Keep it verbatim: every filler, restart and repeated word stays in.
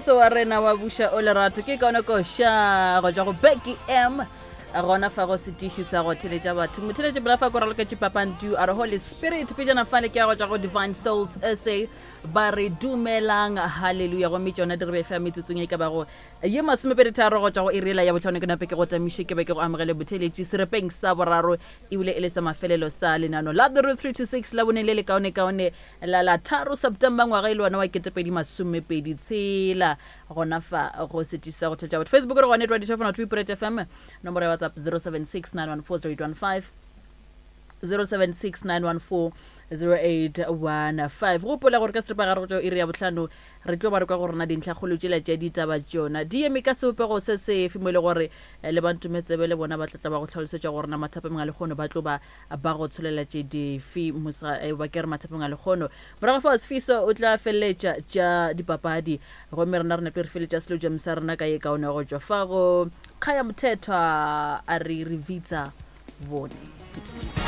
Moso wa rena wa buša o lerato ke kaone koša go tšwa go Becky M gona fa go setiši sa go theletša batho. Motheletši bela fa ko raloketše papantu a re Holy Spirit pejana fale ke ya go tšwa go Divine Souls S A ba re dumelang halleluja. Gomme tšona di re befa metsotsong e ka bago ye masomepedi tharo go tšwa go iriela ya botlhano. Ke nape ke go tamiše ke be ke go amogele botheletši serepeng sa boraro ebile e le sa mafelelo sa lenano la The Root three two six la boneng le le kaonekaone la la tharo September ngwaga e le wona wa ketepedi masomepedi tshela gona fa go setiši sa go thetša batho. Facebook re gone twenty two Pirate F M, nomoro ya WhatsApp zero seven six nine one four zero eight one five, zero seven six nine one four zero eight one five. Gopola gore ka seripagare go tšwa iri ya bohlano re tlo ba re kwa go rona dintlhakgolo tšela tša ditaba tšona di eme ka sebopego se sefe mo e le gore eh, le bantumetsebe le bona ba tlatla ba go tlhalosetša gore na mathapeng a lekgono ba tlo ba ba go tsholela tše dife. Mosa- eh, ba ke re mathapeng a lekgono morago fa Sefiso o tla feleletša tša dipapadi, gomme rena re nepe re feletša selojam sa rena ka ye kaone go tšwa fa go Kgaya Mothethwa a re re bitsa bone. Ipsene.